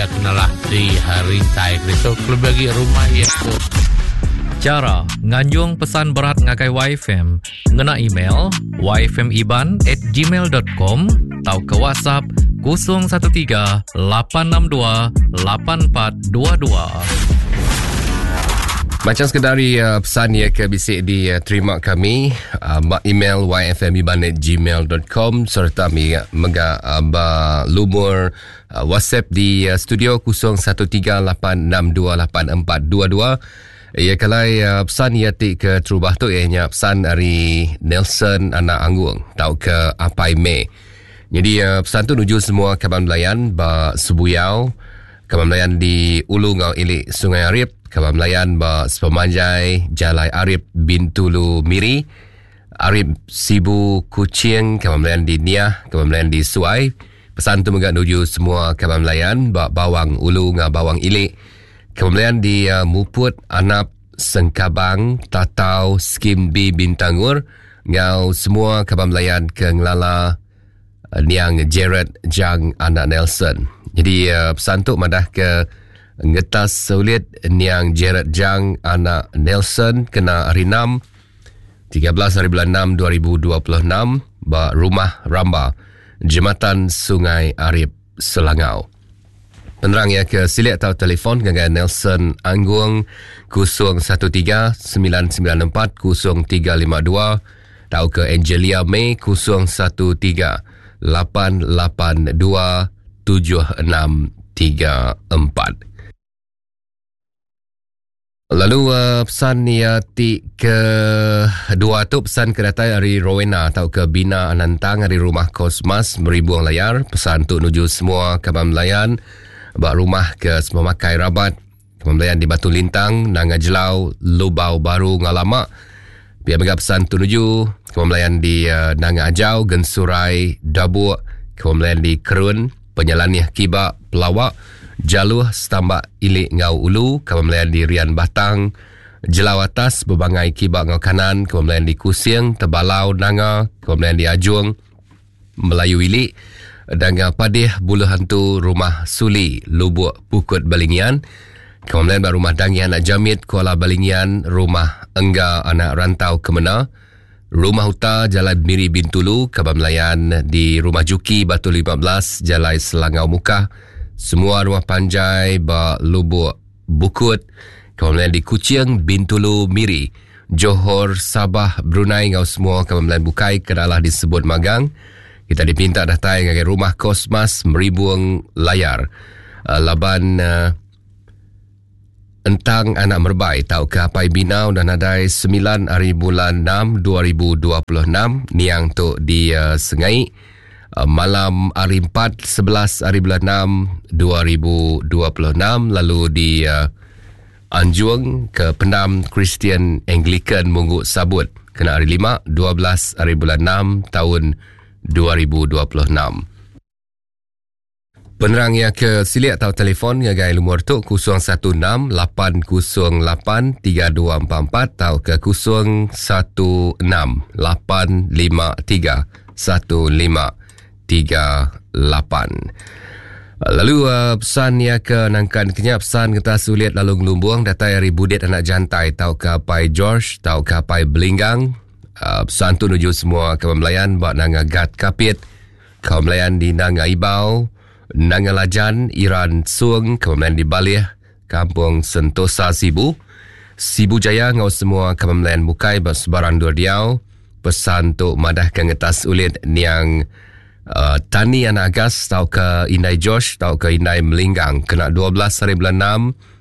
iya kenalah di rintai keditu kelebih agi rumah iya tu. Chara nganjung pesan berat ngagai YFM ngena email yfmiban at gmail dot com tauka WhatsApp 013 862 8422. Macam sekedar dari uh, pesan ya ke bisik diterima kami uh, ba email yfmiban@gmail.com serta mega, mega uh, ba lumur uh, WhatsApp di uh, studio 0138628422. Ya kalai uh, pesan ia ti ke terubah tu ia nya pesan ari Nelson anak Anggung tau ke Apai May. Jadi uh, pesan tu nuju semua kaban belayan ba Sebuyau, kaban belayan di Ulu ngau Ili Sungai Arip, kaban belayan ba sepemanjai Jalai Arip Bintulu Miri, Arip Sibu Kuching, kaban belayan di Niah, kaban belayan di Suai. Pesan tu mega nuju semua kaban belayan ba Bawang Ulu ngau Bawang Ili. Kemudian di uh, Muput, Anap, Sengkabang, Tatau, Skim B Bintangur ngau semua kaban belayan ke ngelala uh, niang Jared Jang anak Nelson. Jadi uh, pesan tu madah ke ngetas sulit niang Jared Jang anak Nelson kena hari 6 13 hari bulan 6 2026 ba Rumah Ramba Jematan Sungai Arip Selangau. Penerang iya ke silik tau telefon ngagai Nelson Anggung 013 994 0352 tau ke Angelia May 013 882 7634. Lalu uh, pesan ia ti ke dua tu pesan ke datai ari Rowena atau ke Bina Anantang ari rumah Kosmas Meribung Layar. Pesan tu nuju semua kaban melayan ba rumah ke semua makai rabat. Kaban melayan di Batu Lintang, Nanga Jelau, Lubau Baru Ngalama. Pia mega pesan tu nuju kaban melayan di uh, Nanga Ajau, Gensurai, Dabuk, kaban melayan di Kerun, Penyelanih Kiba, Pelawak, Jaluh, Setambak, Ili enggau Ulu, Kaban Melayan di Rian Batang, Jelau Atas, Bebangai Kiba enggau Kanan, Kaban Melayan di Kusing, Tebalau, Nanga, Kaban Melayan di Ajung, Melayu Ili, Danga Padih, Buluh Hantu, Rumah Suli, Lubuk Pukut Balingian, Kaban Melayan ba Rumah Dangi Anak Jamit, Kuala Balingian, Rumah Engga Anak Rantau Kemena, Rumah Uta, Jalai Miri Bintulu, Kaban Melayan di Rumah Juki, Batu 15, Jalai Selangau Mukah, semua rumah panjai ba Lubuk Bukut, Kaban Melayan di Kuching, Bintulu, Miri, Johor, Sabah, Brunei enggau semua kaban Melayan bukai ke dalah disebut magang. Kita dipinta datai ngagai Rumah Kosmas Meribung Layar laban Entang anak Merbai tauka Apai Bina udah nadai semilan ari bulan enam 2026 niang tu di uh, Sengai uh, malam hari 4 11 ari bulan 6 2026 lalu di uh, anjung ke pendam Kristian Anglican Munggu Sabut kena hari 5 12 ari bulan 6 tahun 2026. Penerang iya ke silik tau telefon ngagai lumur tu 016 808 3244 tauka 016 853 1538. Lalu uh, pesan iya ke nangkan kenya pesan kita sulit lalu ngelumbung datai ari Budit anak Jantai tauka Pai George tauka Pai Belinggang. Uh, pesan tu nuju semua kaban belayan ba Nanga Gat Kapit. Kaum Melayan di Nanga Ibau, Nanga Lajan, Iran Sung, Kaum Melayan di Balih, Kampung Sentosa Sibu, Sibu Jaya enggau semua kaum Melayan bukai ba sebarang endur diau. Pesan tu madahka ngetas ulit niang uh, Tani Anak Agas tauka Indai George tauka Indai Melinggang kena 12 hari bulan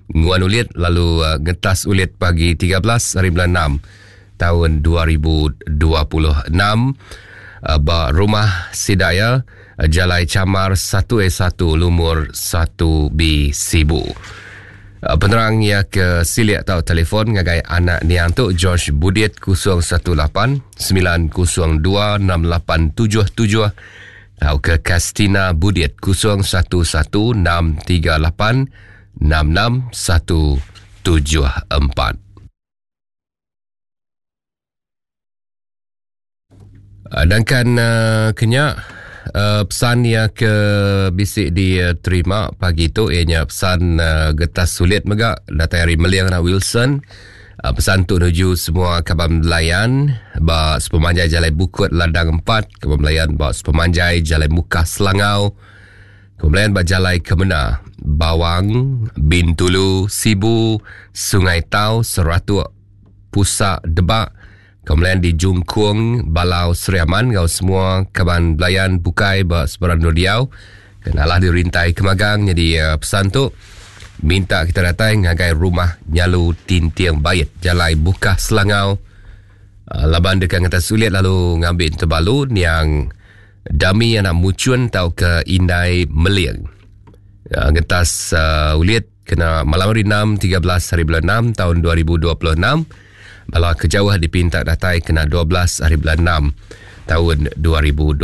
6 nguan ulit lalu uh, ngetas ulit pagi 13 hari bulan 6 taun 2026 ba Rumah Sidaya, Jalai Chamar 1A1 Lumur 1B Sibu. Penerang iya ke silik tau telefon ngagai anak niang tu George Budit 018 902 6877 tauka Kastina Budit 011 638 66174. Dangkan uh, kenya pesan iya ke bisi diterima pagi tu iya nya pesan getas sulit mega datai ari Meling anak Wilson. Pesan tu nuju semua kaban belayan ba sepemanjai Jalai Bukut Ladang 4, kaban belayan ba sepemanjai Jalai Mukah Selangau, kaban belayan ba Jalai Kemena, Bawang, Bintulu, Sibu, Sungai Tau, Seratuk, Pusa, Debak, Kaban di Jungkung, Balau, Sri Aman enggau semua kaban belayan bukai ba sebarang endur diau ke nalah dirintai kemagang nyadi pesan tu minta kita datai ngagai rumah Nyalu Tinting Bait Jalai Bukah Selangau laban deka ngetas ulit lalu ngambi entebalu niang Dami anak Muchun tauka Indai Meling. Ngetas ulit Kena malam hari 6, 13 hari bulan 6 tahun 2026, bala ke jauh dipinta datai kena 12 hari bulan 6 tahun 2026.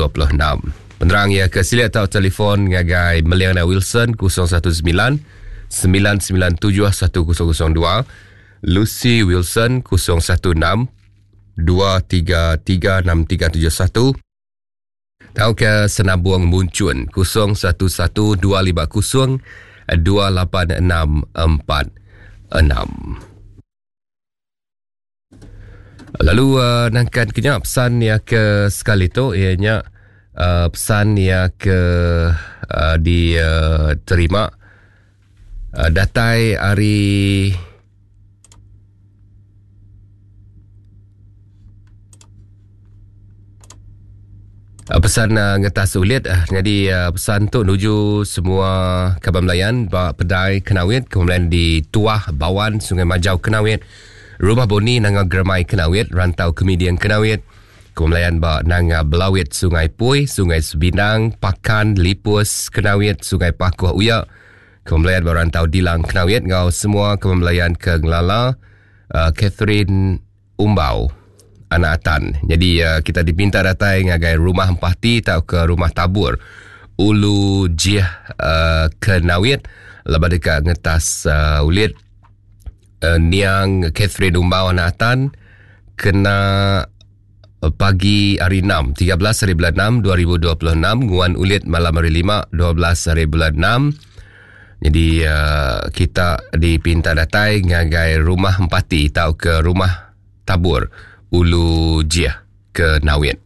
Penerang iya ke silik tau telefon ngagai Meliana Wilson 019 997 1002, Lucy Wilson 016 233 6371, Tauka Senabung Munchun 011 250 28646. Lalu uh, nangkan kenya pesan ya ke sekali tu iya nya uh, pesan ya ke uh, diterima uh, datai ari Ah, pesan uh, ngetas ulit uh, jadi uh, pesan tu nuju semua kaban Melayan ba Pedai Kenawit kemudian di Tuah Bawan Sungai Majau Kenawit Rumah Boni Nanga Germai Kenawit Rantau Kemiding Kenawit Kemudian ba Nanga Belawit Sungai Pui Sungai Sebinang Pakan Lipus Kenawit Sungai Pakuh Uya Kemelayan ba Rantau Dilang Kenawit enggau semua kemelayan ke ngelala uh, Catherine Umbau anak Atan. Jadi uh, kita dipinta datai ngagai rumah Empati tauka rumah Tabur Ulu Jih uh, Kenawit laban deka ngetas uh, ulit uh, niang Catherine Umbau anak Atan kena Pagi hari 6, 13 hari bulan 6, 2026, nguan ulit malam hari 5, 12 hari bulan 6. Jadi uh, kita dipinta datai ngagai rumah Empati tau ke rumah Tabur Ulu Jih ke Nawit.